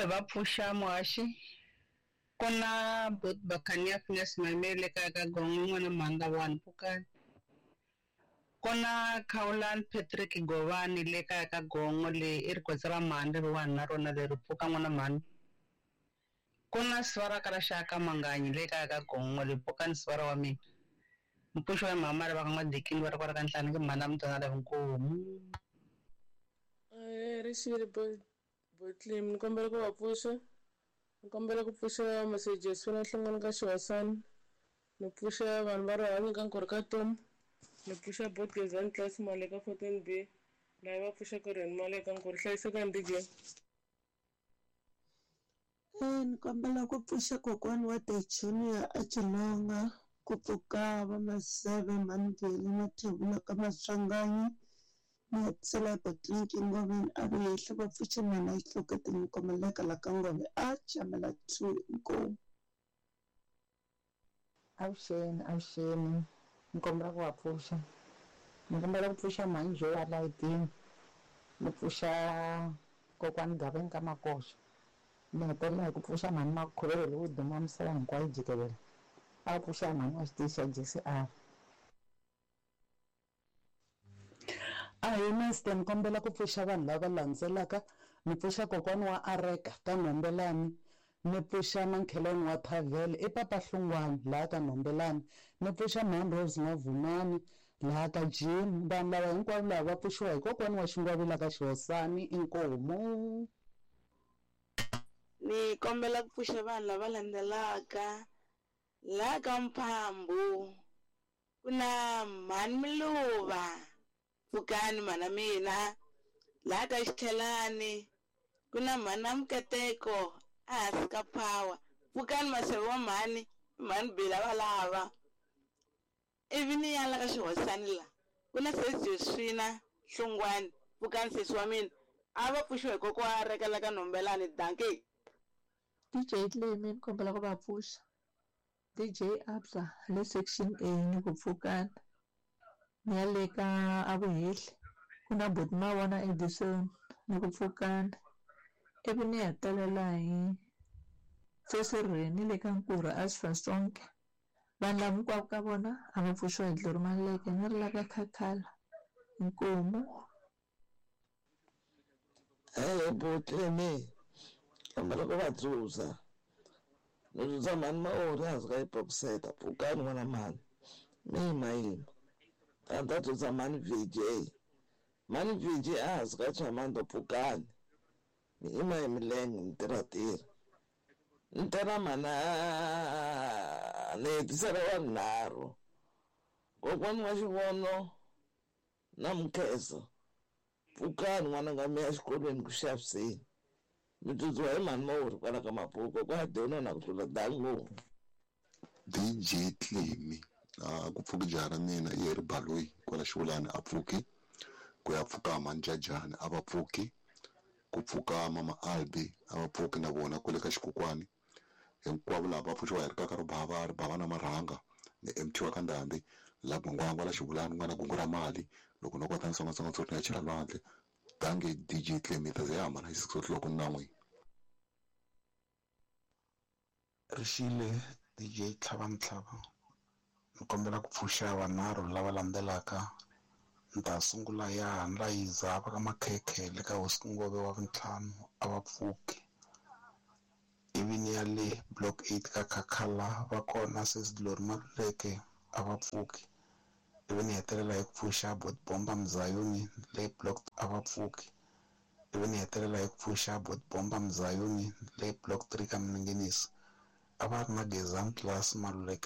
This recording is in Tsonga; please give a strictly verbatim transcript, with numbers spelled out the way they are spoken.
Va pfuxa muhaxi ku na Buccaneer Phineas Mamele kaya ka Gongo n'wana mhanda one Pfukani. Ku na Khawulani Patrick Govani le kaya ka Gongo le i rikwetsa ra mhani leriwani na rona leri pfuka n'wana mhani. Ku na Sivara ka Rixaka Manganyi le kaya ka Gongo le pfukani Sivara wa mina. Mpfuxo wa mhama ri va ka N'wadikini va ri kwala ka nhlanu ke mhani a mutana la Nkomu. Eh rixile Botlim ni kombela ku va pfuxa. Ni kombela ku pfuxa Mercedes na Hlongwane ka Xihosana. Ni pfuxa vanhu va rihanyo ka nkarhi ka Tom. Ni pfuxa Botgezani class mali ka fourteen B. Laha va pfuxaka reni mali ka nkarhi hlayisekani D J. Eh ni kombela ku pfuxa kokwani wa The Junior a Chilonga ku pfuka va Maseve Mandleli na Thebula ka Maswanganyi ni hetisela Botlinki Ngoveni a vuyehla va pfuxe mana Xihlokoto ni komeleka la ka Ngove a chamela two inkomu. Avuxeni avuxeni ni kombela ku va pfuxa ni kombela ku pfuxa mhani Joe wa Layitini ni pfuxa kokwani Gaveni ka Makoxa ni hetelela hi ku pfuxa mhani Makhuvele lowu duma misava hinkwayo jikelele a pfuxa mhani wa xitichi xa J C R. A hi Mister ni kombela ku pfuxa vanhu lava landzelaka ni pfuxa kokwani wa Areka ka Nhombelani ni pfuxa Mankhelani wa Thavele i Papa Hlungwani laha ka Nhombelani ni pfuxa Mhani Rose Mavhumani laha ka Jim vanhu lava hinkwavo lava va pfuxiwa hi kokwani wa Xingwavila ka Xihosani inkomu. Ni kombela ku pfuxa vanhu lava landzelaka laha ka Mphambu ku na Mhani Miluva pfukani mana mina laha ka Xitlhelani ku na Mhani Mukateko ehansi ka Power pfukani maseve wa mhani mhani Bila va lava ivi ni ya la ka Xihosani la ku na sesi Josefina Hlongwane pfukani sesi wa mina a va pfuxiwa hi kokwa reka la ka Nhombelani dankie. D J Clemi ni kombela ku va pfuxa D J Absa le section A ni ku pfukana ni ya le ka Avuhehli ku na buti Mavona Edison ni ku pfukana ivi ni hetelela hi sesi Reni le ka Nkurhu Asfa Sonke vanhu lava hinkwavo ka vona a va pfuxiwa hi Dlori Maluleke ni ri la ka Khakhala inkomu. Hey Botlemi kombela ku va dzudza ni dzudza mhani Maori hansi ka Ipoxeta pfukani n'wana mhani mi yimayima a ta dzudza mhani V J mhani V J ehansi ka Chamando pfukani ni yima hi milenge ni tirha tirha ni tela mana ni hetisela vanharhu kokwani wa Xivono na Mukheso pfukani n'wananga mi ya xikolweni ku xaviseni mi dzudziwa hi mhani Maori kwala ka Mapuku kwa dona na ku tlula dango. D J Clemi a ku pfuki jaha ra mina i ri Baloyi kwala Xivulani a pfuki ku ya pfuka mhani Jajani a va pfuki ku pfuka mama Albi a va pfuki na vona kwale ka Xikokwani hinkwavo lava va pfuxiwa hi rikaka ro bava ri bava na marhanga ni M T wa ka Ndhambi la Gwangwangwa la Xivulani n'wana gungu ra mali loko no kota nsongatsonga ya chela lwandle dange D J Clemi ta ze hambana hi six o'clock na n'wi. Rixile D J Tlhava Ntlhava ni kombela ku pfuxa vanharhu lava landzelaka ni ta sungula ya Nlayiza va ka Makhekhe le ka Hosi Ngove wa vuntlhanu a va pfuki ivi ni ya le block eight ka Khakhala va kona sesi Glory Maluleke a va pfuki ivi ni hetelela hi ku pfuxa Bot Bomba Mzayoni le block a va pfuki ivi ni hetelela hi ku pfuxa Bot Bomba Mzayoni le block three ka Miningeniso a va ri na Gezani class Maluleke.